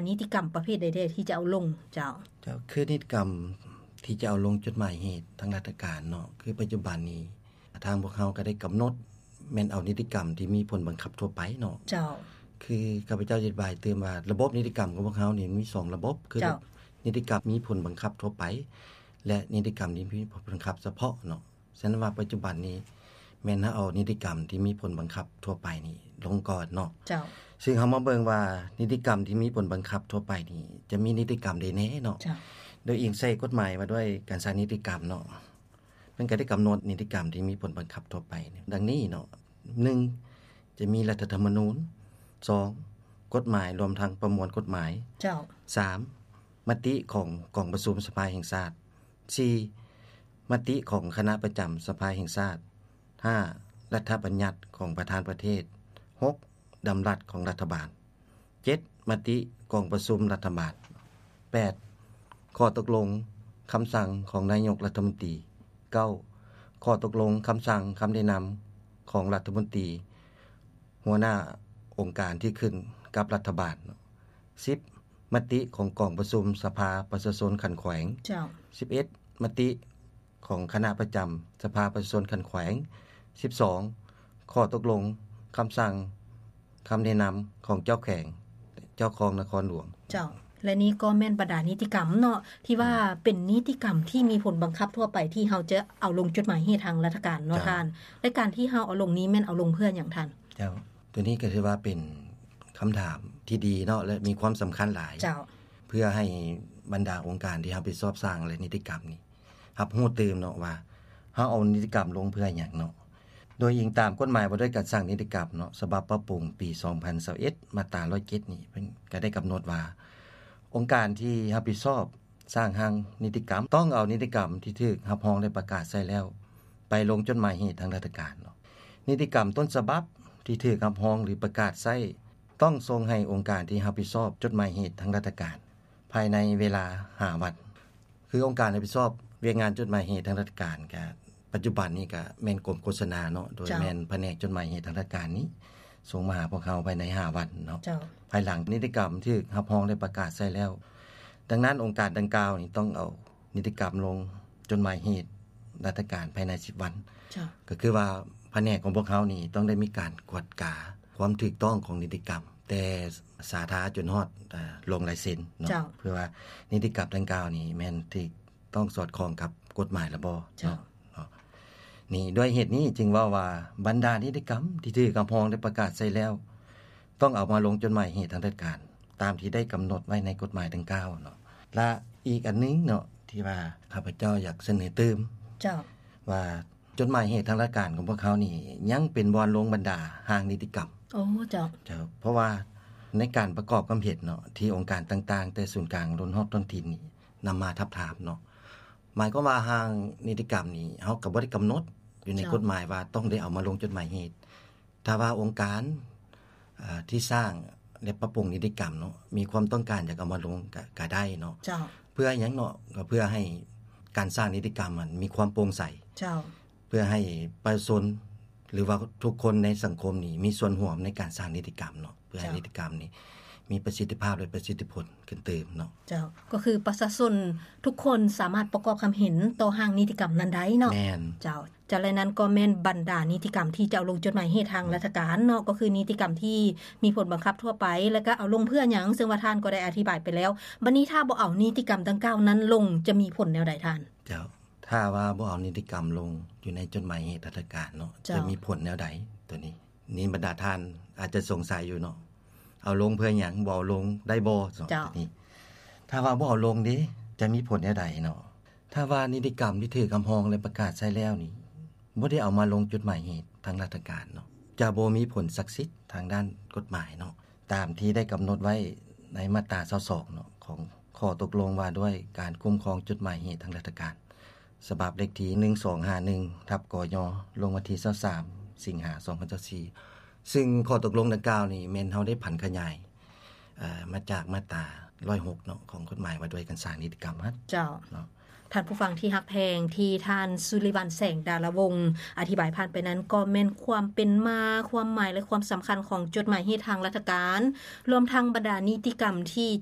ນິຕິກຳປະເພດໃດແດ່ທີ່ຈະເອົາລົງ? ເຈົ້າ. ເຈົ້າ, ຄືນິຕິກຳທີ່ຈະເອົາລົງຈົດໝາຍເຫດທາງລັດຖະການເນາະ, ຄືປັດຈຸບັນນີ້ທາງພວກເຮົາກໍໄດ້ກຳນົດແມ່ນເອົານິຕິກຳທີ່ມີຜົນບັງຄັບທົ່ວໄປເນາະ. ເຈົ້າ. ຄືຂ້າພະເຈົ້າອະທິບາຍຕື່ມວ່າ ລະບົບນິຕິກຳຂອງພວກເຮົານີ້ມີສອງລະບົບ, ຄື ເຈົ້າ. ນິຕິກຳມີຜົນບັງຄັບທົ່ວໄປ ແລະ ນິຕິກຳທີ່ມີຜົນບັງຄັບສະເພາະເນາະ. ສະນັ້ນວ່າປັດຈຸບັນນີ້ແມ່ນເຮົາເອົານິຕິກຳທີ່ມີຜົນບັງຄັບທົ່ວໄປນີ້ລົງກ່ອນເນາະ. ເຈົ້າ. ຊຶ່ງເຮົາມາເບິ່ງວ່ານິຕິກຳທີ່ມີຜົນບັງຄັບທົ່ວໄປນີ້ຈະມີນິຕິກຳໃດແດ່ເນາະ. ເຈົ້າ. ໂດຍອີງໃສ່ກົດໝາຍວ່າດ້ວຍການສ້າງນິຕິກຳເນາະ, ເພິ່ນກໍໄດ້ກຳນົດນິຕິກຳທີ່ມີຜົນບັງຄັບທົ່ວໄປດັ່ງນີ້ເນາະ. ໜຶ່ງ ຈະມີລັດຖະທຳມະນູນ, ສອງ ກົດໝາຍລວມທັງປະມວນກົດໝາຍ, ເຈົ້າ. ສາມ ມະຕິຂອງກອງປະຊຸມສະພາແຫ່ງຊາດ, ສີ່ ມະຕິຂອງຄະນະປະຈຳສະພາແຫ່ງຊາດ, ຫ້າ ລັດຖະບັນຍັດຂອງປະທານປະເທດ, ຫົກ ດຳລັດຂອງລັດຖະບານ, ເຈັດ ມະຕິກອງປະຊຸມລັດຖະບານ, ແປດ ຂໍ້ຕົກລົງຄຳສັ່ງຂອງນາຍົກລັດຖະມົນຕີ, ເກົ້າ ຂໍ້ຕົກລົງຄຳສັ່ງຄຳແນະນຳຂອງລັດຖະມົນຕີ ຫົວໜ້າອົງການທີ່ຂຶ້ນກັບລັດຖະບານ, ສິບ ມະຕິຂອງກອງປະຊຸມສະພາປະຊາຊົນຂັ້ນແຂວງ, ເຈົ້າ. ສິບເອັດ ມະຕິຂອງຄະນະປະຈຳສະພາປະຊາຊົນຂັ້ນແຂວງ, ສິບສອງ ຂໍ້ຕົກລົງຄຳສັ່ງຄຳແນະນຳຂອງເຈົ້າແຂວງ ເຈົ້າຄອງນະຄອນຫຼວງ. ເຈົ້າ. ແລະນີ້ກໍແມ່ນບັນດານິຕິກຳເນາະ ທີ່ວ່າ ອືມ ເປັນນິຕິກຳທີ່ມີຜົນບັງຄັບທົ່ວໄປ ທີ່ເຮົາຈະເອົາລົງຈົດໝາຍເຫດທາງລັດຖະການເນາະ ເຈົ້າ ທ່ານ. ແລະການທີ່ເຮົາເອົາລົງນີ້ແມ່ນເອົາລົງເພື່ອຫຍັງທ່ານ? ເຈົ້າ. ໂຕນີ້ກໍຖືວ່າເປັນຄຳຖາມທີ່ດີເນາະ ແລະມີຄວາມສຳຄັນຫຼາຍ. ເຈົ້າ. ເພື່ອໃຫ້ບັນດາອົງການທີ່ຮັບຜິດຊອບສ້າງ ແລະນິຕິກຳນີ້ຮັບຮູ້ຕື່ມເນາະວ່າ ເຮົາເອົານິຕິກຳລົງເພື່ອຫຍັງເນາະ. ໂດຍອີງຕາມກົດໝາຍວ່າດ້ວຍການສ້າງນິຕິກຳເນາະ ສະບັບປັບປຸງປີສອງພັນຊາວເອັດ ມາດຕາຮ້ອຍເຈັດນີ້ ເພິ່ນກໍໄດ້ກຳນົດວ່າ ອົງການທີ່ຮັບຜິດຊອບສ້າງຮ່າງນິຕິກຳ ຕ້ອງເອົານິຕິກຳທີ່ຖືກຮັບຮອງ ແລະ ປະກາດໃຊ້ແລ້ວ ໄປລົງຈົດໝາຍເຫດທາງລັດຖະການເນາະ. ນິຕິກຳຕົ້ນສະບັບທີ່ຖືກຮັບຮອງ ຫຼື ປະກາດໃຊ້ ຕ້ອງສົ່ງໃຫ້ອົງການທີ່ຮັບຜິດຊອບຈົດໝາຍເຫດທາງລັດຖະການ ພາຍໃນເວລາຫ້າວັນ. ຄືອົງການຮັບຜິດຊອບວຽກງານຈົດໝາຍເຫດທາງລັດຖະການ ກະປັດຈຸບັນນີ້ກະແມ່ນກົມໂຄສະນາເນາະ ໂດຍ ເຈົ້າ ແມ່ນພະແນກຈົດໝາຍເຫດທາງລັດຖະການນີ້ ສົ່ງມາຫາພວກເຮົາພາຍໃນຫ້າວັນເນາະ. ເຈົ້າ. ພາຍຫຼັງນິຕິກຳຖືກຮັບຮອງ ແລະ ປະກາດໃຊ້ແລ້ວ. ດັ່ງນັ້ນ ອົງການດັ່ງກ່າວນີ້ຕ້ອງເອົານິຕິກຳລົງຈົດໝາຍເຫດລັດຖະການພາຍໃນສິບວັນ. ເຈົ້າ. ກໍຄືວ່າພະແນກຂອງພວກເຮົານີ້ຕ້ອງໄດ້ມີການກວດກາຄວາມຖືກຕ້ອງຂອງນິຕິກຳ ແຕ່ສາທາຈົນຮອດ ອາ ລົງລາຍເຊັນເນາະ. ເຈົ້າ. ເພື່ອວ່ານິຕິກຳດັ່ງກ່າວນີ້ແມ່ນຖືກຕ້ອງສອດຄ່ອງກັບກົດໝາຍລະບໍ່ ເຈົ້າ ເນາະ. ນີ້ ດ້ວຍເຫດນີ້ຈຶ່ງເວົ້າວ່າ ບັນດານິຕິກຳທີ່ຖືກຮັບຮອງ ແລະ ປະກາດໃຊ້ແລ້ວ ຕ້ອງເອົາມາລົງຈົດໝາຍເຫດທາງລັດຖະການ ຕາມທີ່ໄດ້ກຳນົດໄວ້ໃນກົດໝາຍດັ່ງກ່າວເນາະ. ລະອີກອັນໜຶ່ງເນາະ ທີ່ວ່າຂ້າພະເຈົ້າຢາກສະເໜີຕື່ມ ເຈົ້າ ວ່າ ຈົດໝາຍເຫດທາງລັດຖະການຂອງພວກເຮົານີ້ ຍັງເປັນບ່ອນລົງບັນດາຮ່າງນິຕິກຳ. ໂອ້ ເຈົ້າ. ເຈົ້າ. ເພາະວ່າໃນການປະກອບຄຳເຫັນເນາະ ທີ່ອົງການຕ່າງໆ ແຕ່ສູນກາງຈົນຮອດທ້ອງຖິ່ນນີ້ ນຳມາທາບທາມເນາະ, ໝາຍຄວາມວ່າຮ່າງນິຕິກຳນີ້ ເຮົາກໍບໍ່ໄດ້ກຳນົດຢູ່ໃນ ເຈົ້າ ກົດໝາຍວ່າຕ້ອງໄດ້ເອົາມາລົງຈົດໝາຍເຫດ. ຖ້າວ່າອົງການ ເອີ ທີ່ສ້າງ ແລະ ປັບປຸງນິຕິກຳເນາະ ມີຄວາມຕ້ອງການຢາກເອົາມາລົງ ກະ ກະໄດ້ເນາະ. ເຈົ້າ. ເພື່ອຫຍັງເນາະ? ກໍເພື່ອໃຫ້ການສ້າງນິຕິກຳຫັ້ນມີຄວາມໂປ່ງໃສ. ເຈົ້າ. ເພື່ອໃຫ້ປະຊາຊົນ ຫຼືວ່າທຸກຄົນໃນສັງຄົມນີ້ມີສ່ວນຮ່ວມໃນການສ້າງນິຕິກຳເນາະ, ເພື່ອໃຫ້ ເຈົ້າ ນິຕິກຳນີ້ມີປະສິດທິພາບ ແລະ ປະສິດທິຜົນຂຶ້ນຕື່ມເນາະ. ເຈົ້າ. ກໍຄືປະຊາຊົນທຸກຄົນສາມາດປະກອບຄຳເຫັນຕໍ່ຮ່າງນິຕິກຳນັ້ນໄດ້ເນາະ. ແມ່ນ. ເຈົ້າ. ຈາກນັ້ນກໍແມ່ນບັນດານິຕິກຳທີ່ຈະເອົາລົງຈົດໝາຍເຫດທາງ ອືມ ລັດຖະການເນາະ, ກໍຄືນິຕິກຳທີ່ມີຜົນບັງຄັບທົ່ວໄປ ແລະ ກໍເອົາລົງເພື່ອຫຍັງ, ເຊິ່ງວ່າທ່ານກໍໄດ້ອະທິບາຍໄປແລ້ວ. ບັດນີ້ຖ້າບໍ່ເອົານິຕິກຳດັ່ງກ່າວນັ້ນລົງ ຈະມີຜົນແນວໃດທ່ານ? ເຈົ້າ, ຖ້າວ່າບໍ່ເອົານິຕິກຳລົງຢູ່ໃນຈົດໝາຍເຫດທາງລັດຖະການເນາະ, ເຈົ້າ, ຈະມີຜົນແນວໃດ? ໂຕນີ້ ນີ້ບັນດາທ່ານອາດຈະສົງໄສຢູ່ເນາະ, ເອົາລົງເພື່ອຫຍັງ? ບໍ່ເອົາລົງໄດ້ບໍ່? ເຈົ້າ. ນີ້ ຖ້າວ່າບໍ່ເອົາລົງເດ ຈະມີຜົນແນວໃດເນາະ? ຖ້າວ່ານິຕິກຳທີ່ຖືກຮັບຮອງ ແລະ ປະກາດໃຊ້ແລ້ວນີ້ ບໍ່ໄດ້ເອົາມາລົງຈົດໝາຍເຫດທາງລັດຖະການເນາະ, ຈະບໍ່ມີຜົນສັກສິດທາງດ້ານກົດໝາຍເນາະ, ຕາມທີ່ໄດ້ກຳນົດໄວ້ໃນມາດຕາຊາວສອງເນາະ ຂອງຂໍ້ຕົກລົງວ່າດ້ວຍການຄຸ້ມຄອງຈົດໝາຍເຫດທາງລັດຖະການ ສະບັບເລກທີ ໜຶ່ງສອງຫ້າໜຶ່ງ ທັບ ກຍ ລົງວັນທີ ຊາວສາມ ສິງຫາ ສອງພັນຊາວສີ່ ຊຶ່ງຂໍ້ຕົກລົງດັ່ງກ່າວນີ້ແມ່ນເຮົາໄດ້ຜັນຂະຫຍາຍ ເອີ ມາຈາກມາດຕາ ຮ້ອຍຫົກເນາະ ຂອງກົດໝາຍວ່າດ້ວຍການສ້າງນິຕິກຳຫັ້ນ. ເຈົ້າ. ເນາະ. ທ່ານຜູ້ຟັງທີ່ຮັກແພງ, ທີ່ທ່ານ ສຸລິວັນ ແສງດາລະວົງ ອະທິບາຍຜ່ານໄປນັ້ນ ກໍແມ່ນຄວາມເປັນມາ, ຄວາມໝາຍ ແລະ ຄວາມສຳຄັນຂອງຈົດໝາຍເຫດທາງລັດຖະການ, ລວມທັງບັນດານິຕິກຳທີ່ຈະ